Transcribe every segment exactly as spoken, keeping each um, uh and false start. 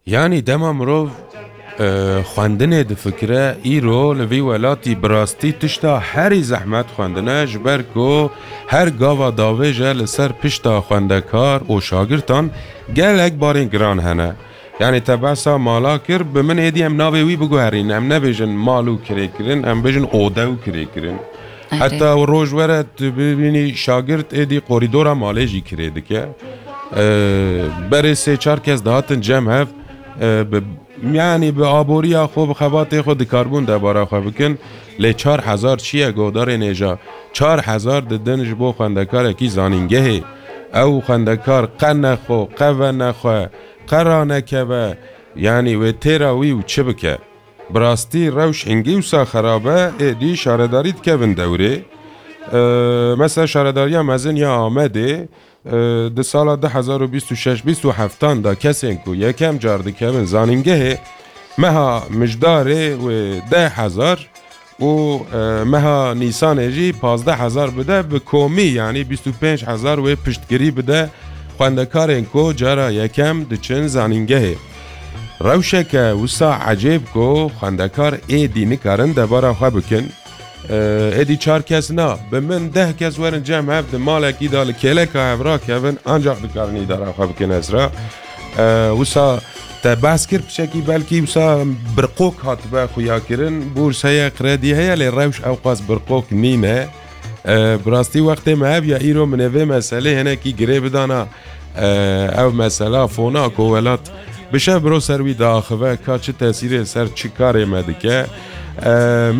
Yanî dema mirov e, xwendinê difikire, îro li vî welatî bi rastî tişta herî zehmet xwendin e, ji ber ku her gava davêje li ser pişta xwendekar û şagirtan gelek barên giran hene. Yanî te behsa mala kir, bi min êdî em navê wî biguherîn, em nebêjin mal û kirêkirin, em bêjin ode û kirêkirin. Heta roj were tu bibînî şagirt êdî korîdora malê jî kirê dike. E, berê sê çar kes dihatin cem hev, e, bi, yanî bi aboriya xwe, bi xebatê xwe dikarbûn debara xwe bikin. Lê çar hezar çi ye, godarên hêja? Çar hezar didin ji bo xwendekarekî zanîngehê. Ew xwendekar qe nexwe, qe venexwe, qe ranekeve, yanî wê têra wî û çi bike? Bi rastî rewş hingî wisa xerab e, êdî şaredarî dikevin dewrê. E, mesela Şaredariya Mezin ya Amedê, e, di sala du hezar û bîst û şeş bîst û heftan de kesên ku yekem car dikevin zanîngehê, meha Mijdarê wê deh hezar û, e, meha Nîsanê jî pazdeh hezar bide, bi komî, yanî bîst û pênc hezar wê piştgirî bide xwendekarên ku cara yekem diçin zanîngehê. Rewşeke wisa ecêb ku xwendekar êdî nikarin debara xwe bikin. E, êdî çar kes na, bi min deh kes werin cem hev di malekî de li kêleka hev rakevin, ancaq dikarin îdara xwe bikin Ezra. E, wisa te behs kir piçekî, belkî wisa birqok hatibe xuya kirin, bûrs heye, kredî heye, lê rewş ewqas birqok nîne. E, bi rastî wextê me hev ya îro min ê vê meselê hinekî girê bidana. E, ev mesela fona ku welat bi şev biro ser wî diaxive, ka çi tesîrê ser çi karê me dike. E,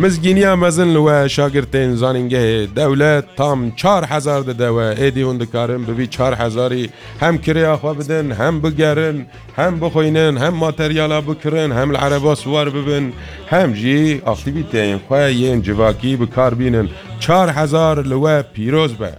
mizgîniya mezin li we şagirtên zanîngehê, dewlet tam çar hezar dide we, êdî hûn dikarin bi vî çar hezarî hem kirêya xwe bidin, hem bigerin, hem bixwînin, hem materyala bikirin, hem li ereba siwar bibin, hem jî aktîvîteyên xwe yên civakî bi kar bînin. Çar hezar li we pîroz be.